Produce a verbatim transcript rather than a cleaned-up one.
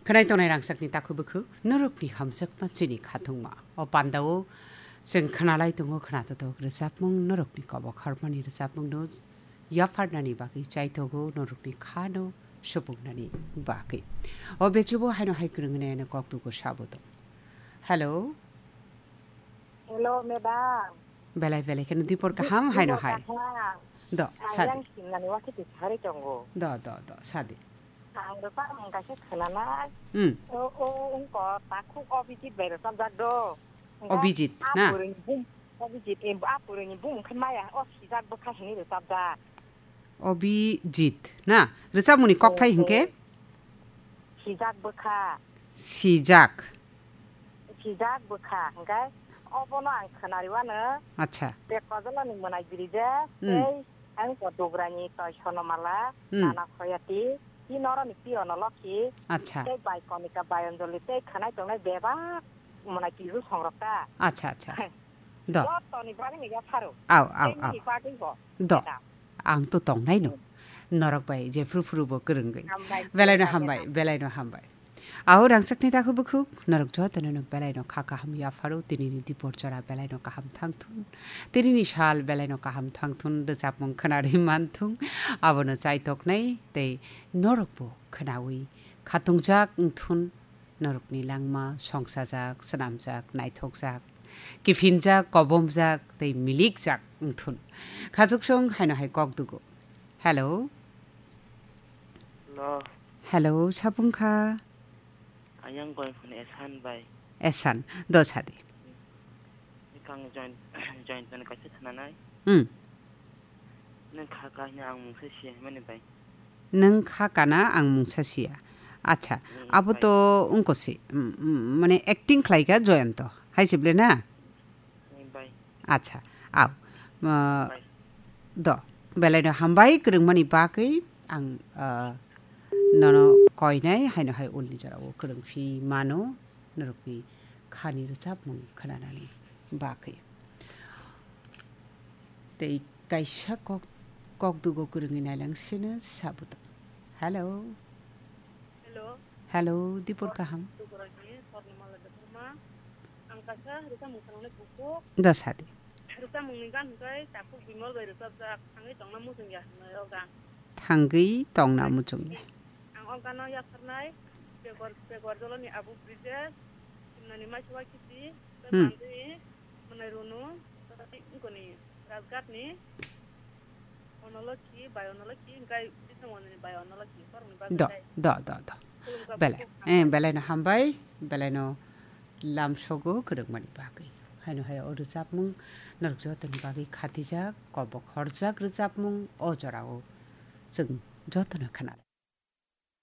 Khwnai tongnai rangchakni takhuk bukhuk, norokni hamjakma chini khathungma. O pandao chwng khwnalai tongo khwnatotok rwchapmung, norokni kobok harmani rwchapmungno yapharnani bagwi chaitogo, norokni khano supungnani bagwi. O bechubo haino hai kwrwngni ano kok dugo sabo tong. Hello. Hello, madam. Belai belai kheno dipor kaham haino hai. Kaham. Do, sadi. Ayang simnani wakiti sari tongo. Do, do, do, sadi. Ang do pa mung kaisa khwnanai. Hmm. O, o, ungko takhuk Obijit bai rwchapjak do. Obijit, na? Apuruni bum, Obijit, em, apuruni bum khe maya, o sijak bwkha hini rwchapjak. Obijit, na? Rwchapmungni kokthai hwnkhe? Sijak bwkha. Sijak. Sijak bwkha, hwnkhe obono ang khwnariwano. Acha. Te Kojolani mwnai birija, hmm, tei ang ko Dugrani toi Sonomala, hmm, nana Khoyati, ti noroni piyono Lokhi, acha, tei bai Konika bai Anjali, tei khwnai tongnai bebak mwnai kiru songrok ta. Acha, acha. Do. Jotoni bagwi ni yapharo. Au, au, au. Tei nini bagwi bo. Do. Madam. Ang to tongnai no. Norok bai jephru phru bo kwrwngwi. Hambai. Belaino hambai, belaino hambai. Au rangchakni takhuk bukhuk, norok jotono no belaino kha kaham yapharo, tinini dipor jora belaino kaham thangthun. Tinini sal belaino kaham thangthun, rwchapmung khwnarwi manthung. Abono chaitoknai tei norok bo khwnawi khatungjak wngthun. Norokni langma songsajak, swnamjak, naithokjak, kiphinjak, kobomjak tei milikjak wngthun. Khachuksong haino hai kok dugo. Hello? Hello. Hello, sabung kha? Ayang koi phone Esan bai. Esan, do sadi. Kang join, join pen kaisa thananai. Hmm. Nang kha kahini ang mungsa siya himani bai. Nang kha kana ang mungsa siya. Acha, hmm, abo bai. To ungko si, mm, mm, mane acting khlai kha Joyanto. Hai sible na? Hmm, bai. Acha, au. Ma, bai. Do, belaino hambai kwrwngmani bagwi ang, ah, nono koinai haino hai ulni jorao kwrwngphi mano norokni khani rwchapmung khwnanani bagwi. Tei kaisa kok, kok dugo kwrwngwi nailangsino sabuto. Hello. Hello. Hello, dipor kaham. Dukurani Swarnamala Debbarma. Ang kaisa rwchapmung khwnangnai bukhuk. Da sadi. Rwchapmungni gan hwnkhe Takhuk Bimal bai rwchapjak, Thangwi tongna muchung ya hwnwi o gan. Thangwi tongna muchung ya. Ang o gano yapharnai Begor, Begor Joloni Abu Brijesh, Simnani Maiswa Kiti, hmm, Bandi, Mwnai Runu, Tei Ngoni Rajgatni Onolokhi, Bai Onolokhi, Gai Bising Ononi Bai Onolokhi, Korokni bagwi. Do, tei do, do, do. Khulumkha belai, bukhuk eh, hambai. Belaino hambai, belaino lamsogo kwrwngmani bagwi. Haino hai o rwchapmung norok jotoni bagwi khatijak, kobok horjak rwchapmung o jorao chwng jotono khwnanai.